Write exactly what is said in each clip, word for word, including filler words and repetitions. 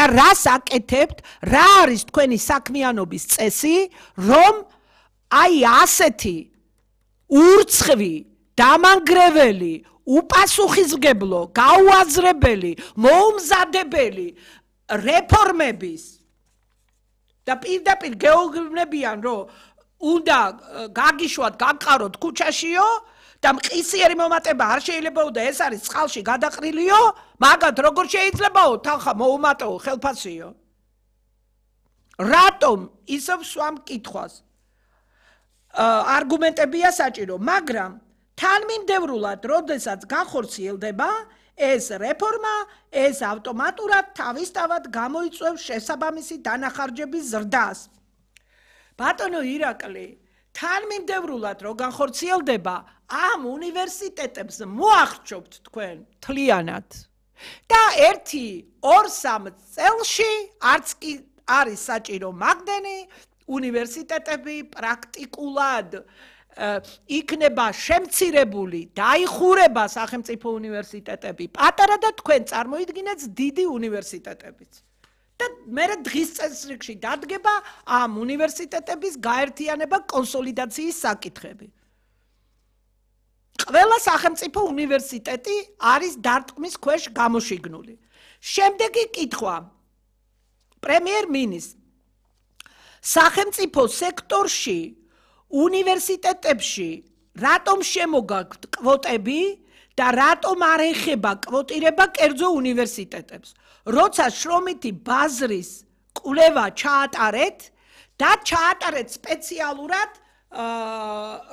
და რას აკეთებთ, რა არის თქვენი საქმიანობის წესი, რომ აი ასეთი ურცხვი, დამანგრეველი, უპასუხისმგებლო, გაუაზრებელი, მოუმზადებელი რეფორმების და პირდაპირ გეუბნებიან, რომ უნდა გაგიშვათ, გაგყაროთ ქუჩაშიო და მყისიერი მომატება არ შეიძლებაო და ეს არის წყალში გადაყრილიო, მაგათ როგორ შეიძლებაო თანხა მოუმატეო ხელფასიო. რატომ ისევ სვამ კითხვას? არგუმენტებია საჭირო, მაგრამ თანმიმდევრულად, როდესაც განხორციელდება ეს რეფორმა, ეს ავტომატურად თავისთავად გამოიწვევს შესაბამისი დანახარჯების ზრდას. ბატონო ირაკლი, თანმიმდევრულად რო განხორციელდება, ამ უნივერსიტეტებს მოახერხებთ თქვენ თლიანად. და ერთი ორ სამ წელში არც კი არის საჭირო მაგდენი უნივერსიტეტები პრაქტიკულად იქნება შემცირებული, დაიხურება სახელმწიფო უნივერსიტეტები, პატარა და თქვენ წარმოიდგინეთ დიდი უნივერსიტეტებიც. და მერე დღის წესრიგში დადგება ამ უნივერსიტეტების გაერთიანება კონსოლიდაციის საკითხები. ყველა სახელმწიფო უნივერსიტეტი არის დარტყმის ქვეშ გამოშიგნული. შემდეგი კითხვა პრემიერ-მინისტრს. სახელმწიფო სექტორში, უნივერსიტეტებში რატომ შემოგაქვთ კვოტები და რატომ არ ეხება კვოტირება კერძო უნივერსიტეტებს? როცა შრომითი ბაზრის კვლევა ჩაატარეთ და ჩაატარეთ სპეციალურად,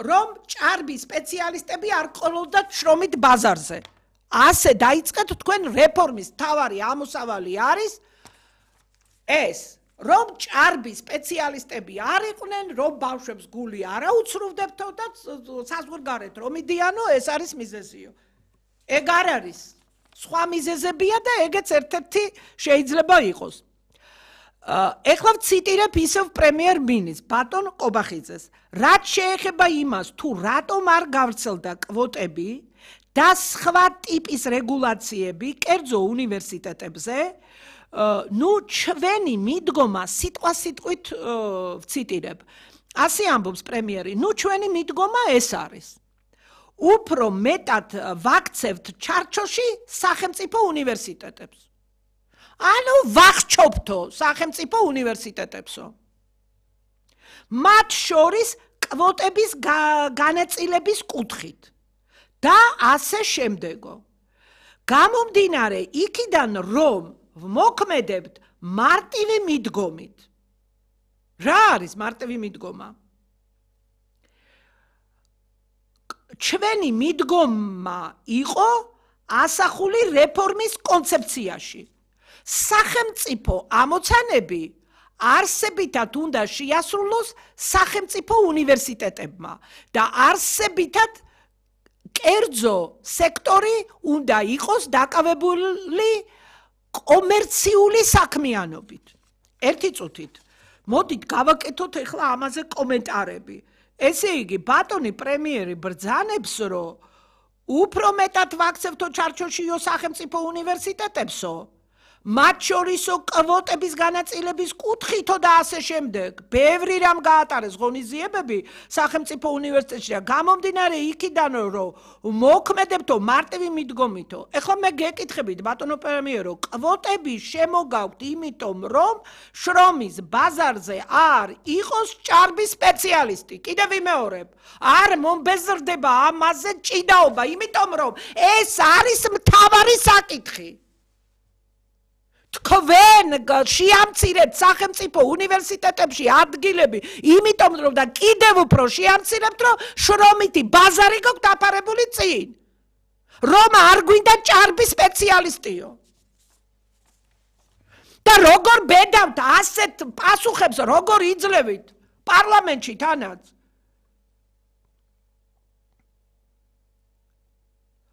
რომ ჭარბი სპეციალისტები არ ყოლოდათ შრომით ბაზარზე. ასე დაიწყეთ თქვენ რეფორმის თავარი ამოსავალი არის ეს, რომ ჭარბი სპეციალისტები არ იყვნენ, რომ ბავშვებს გული არ აუცრუვდებთო და საზღვარგარეთ რომ იდიანო, ეს არის მიზეზიო. ეგ არ არის. სხვა მიზეზებია და ეგეც ერთ-ერთი შეიძლება იყოს. ეხლა ვციტირებ ისევ პრემიერ-მინისტრს, ბატონ ყობახიძეს, რაც შეეხება იმას, თუ რატომ არ გავრცელდა კვოტები და სხვა ტიპის რეგულაციები კერძო უნივერსიტეტებზე, ნუ ჩვენი მიდგომა სიტყვასიტყვით ვციტირებ. ასე ამბობს პრემიერი, ნუ ჩვენი მიდგომა ეს არის. უფრო მეტად ვაქცევთ ჩარჩოში სახელმწიფო უნივერსიტეტებს. ანუ ვახჩობთო სახელმწიფო უნივერსიტეტებსო. მათ შორის კვოტების განაწილების კუთხით და ასე შემდეგო. გამომდინარე იქიდან, რომ ვმოქმედებთ მარტივი მიდგომით. რა არის მარტივი მიდგომა? ჩვენი მიდგომა იყო ასახული რეფორმის კონცეფციაში. სახელმწიფო ამოცანები არსებითად უნდა შეასრულოს სახელმწიფო უნივერსიტეტებმა და არსებითად კერძო სექტორი უნდა იყოს დაკავებული კომერციული საქმიანობით. ერთი წუთით. მოდით გავაკეთოთ ახლა ამაზე კომენტარები. ესე იგი, ბატონი პრემიერი ბრძანებს, რომ უფრო მეტად ვაქცევთო ჩარჩოშიო სახელმწიფო უნივერსიტეტებსო, მათ შორისო კვოტების განაწილების კუთხითო და ასე შემდეგ. ბევრი რამ გაატარეს ღონისძიებები სახელმწიფო უნივერსიტეტში და გამომდინარე იქიდან, რომ მოქმედებთო მარტივი მიდგომითო. ეხლა მე გეკითხებით, ბატონო პრემიერო, კვოტები შემოგაქვთ იმიტომ, რომ შრომის ბაზარზე არ იყოს ჭარბი სპეციალისტი. კიდევ ვიმეორებ, არ მომბეზრდება ამაზე ჭიდაობა, იმიტომ რომ ეს არის მთავარი საკითხი. თქვენ შეამცირებთ სახელმწიფო უნივერსიტეტებში ადგილები, იმიტომ რომ და კიდევ უფრო შეამცირებთ, რომ შრომითი ბაზარი გაქვთ დაფარებული წინ. რომ არ გვინდა ჭარბი სპეციალისტიო. და როგორ ბედავთ ასეთ პასუხებს, როგორ იძლევით პარლამენტში თანაც.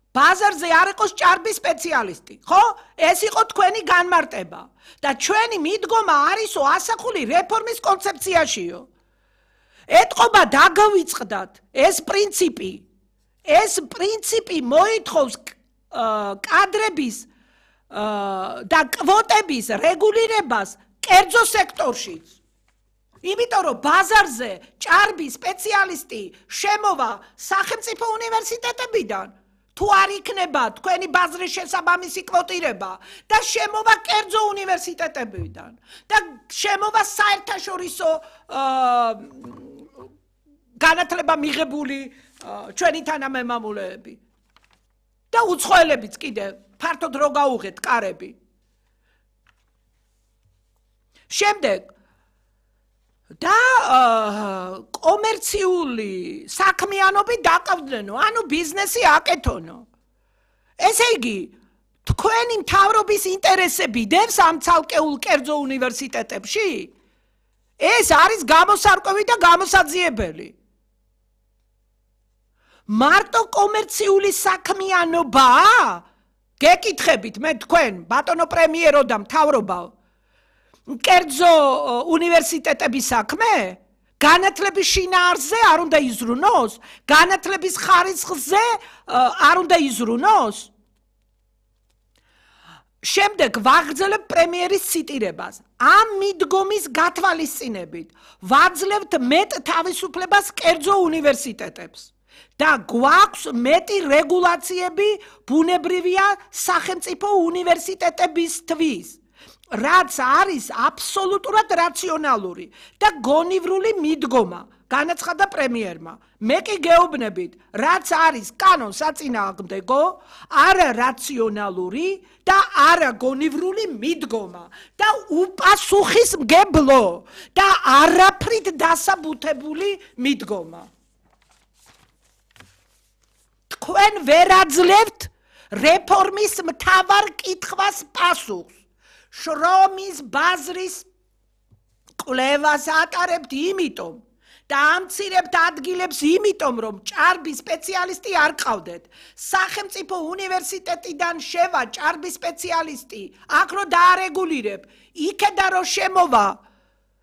ბაზარზე არ იყოს ჭარბი სპეციალისტი, ხო? ეს იყო თქვენი განმარტება. და ჩვენი მიდგომა არისო ასახული რეფორმის კონცეფციაშიო. ეთყობა დაგავიწყდათ ეს პრინციპი. ეს პრინციპი მოითხოვს კადრების და კვოტების რეგულირებას კერძო სექტორშიც. იმიტომ რომ ბაზარზე ჭარბი სპეციალისტი შემოვა სახელმწიფო უნივერსიტეტებიდან, თუ არ იქნება თქვენი ბაზრის შესაბამისი კვოტირება და შემოვა კერძო უნივერსიტეტებიდან და შემოვა საერთაშორისო განათლება მიღებული ჩვენი თანამემამულეები და უცხოელებიც კიდე ფართოდ რო გაუღეთ კარები. შემდეგ და კომერციული საქმიანობით დაყავდნენო, ანუ ბიზნესი აკეთონო. ესე იგი, თქვენი მთავრობის ინტერესები დევს ამ ცალკეულ კერძო უნივერსიტეტებში? ეს არის გამოსარკვევი და გამოსაძიებელი. მარტო კომერციული საქმიანობაა? გეკითხებით მე თქვენ, ბატონო პრემიერო და მთავრობაო, კერძო უნივერსიტეტების საქმე? განათლების შინაარსზე არ უნდა იზრუნოს? განათლების ხარისხზე არ უნდა იზრუნოს? შემდეგ ვაგრძელებ პრემიერის ციტირებას. ამ მიდგომის გათვალისწინებით ვაძლევთ მეტ თავისუფლებას კერძო უნივერსიტეტებს და გვაქვს მეტი რეგულაციები ბუნებრივია სახელმწიფო უნივერსიტეტებისთვის, რაც არის აბსოლუტურად რაციონალური და გონივრული მიდგომა, განაცხადა პრემიერმა. მე კი გეუბნებით, რაც არის კანონ საწინააღმდეგო, არა რაციონალური და არა გონივრული მიდგომა და უპასუხისმგებლო და არაფრით დასაბუთებული მიდგომა. თქვენ ვერ აძლევთ რეფორმის მთავარ კითხვას პასუხს. შრომის ბაზრის კვლევას ატარებთ იმიტომ და ამცირებთ ადგილებს იმიტომ, რომ ჭარბი სპეციალისტი არ ყავდეთ. სახელმწიფო უნივერსიტეტიდან შევა ჭარბი სპეციალისტი, აქ რო დაარეგულირებ, იქედა რო შემოვა